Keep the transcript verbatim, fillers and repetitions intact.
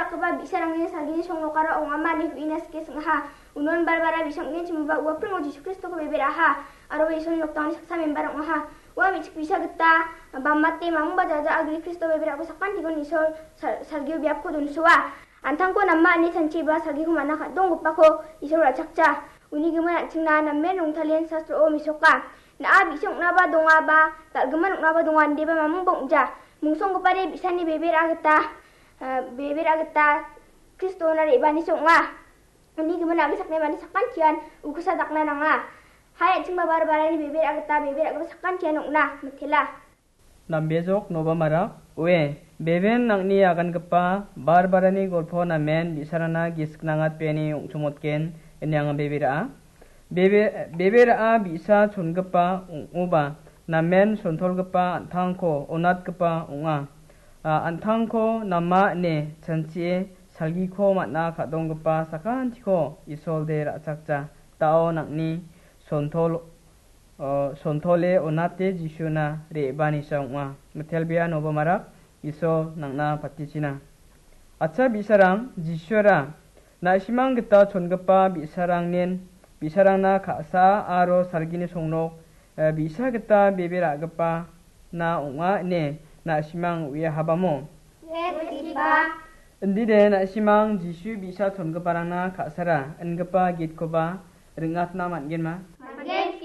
Koba bi·sarangni salgini songnokara ong·ama ine uina sike sing·aha. Unon Barbara bi·sa ong·genchimoba ua pringo Jisu Kristoko beberaha, aro ua Isolni noktangni saksa member ong·aha. Ua me·chik bi·sa gita bamate mamungba jaja agri Kristo beberako sakantikon Isol sal-, salgio biapko donsoa. An·tangko nama ine chanchiba salgiko man·a ka·donggipako Isol ra·chakja. Uni gimin an·chingna namen rongtalen sastro-o mesoka. Na·a bi·sa ong·naba dongaba, dal·gimin ong·naba donga, indeba mamungba ong·ja. Mungsa ong·gipade bi·sani bebera gita, eh, bebera gita Kristona re·baanisi ong·a. Uni gimin a·bri sakni mande sakantian ukosa dakna nanga. Hai an·chingba Barbarani bebera gita bebera gipa sakantian ong·na mitela. Nambejok noba marak, ue, beben nang·ni agangipa Barbarani golpo namen bi·sarangna gisik nangatbeani ong·chongmotgen ine anga bebera. Bebe-, bebera bi·sa chongipa ong·oba namen sontolgipa an·tangko onatgipa ong·a. A, an·tangko nama ine chanchie salgiko man·a ka·donggipa sakantiko Isolde ra·chakja. Da·o nang·ni sontol-, o, sontole onate Jisuna re·baanisa ong·a. Mitelbea noba marak Isol nang·na patichina. Acha bi·sarang, Jisura na·simang gita chongipa bi·sarangnin, bi·sarangna ka·sa aro salgini songnok, eh, bi·sa gita bebe ra·gipana ong·a ine na·simang uiahabamo? Uiaha. Indide na·simang Jisu bi·sa chongiparangna ka·sara ingipa gitkoba ring·atna man·genma?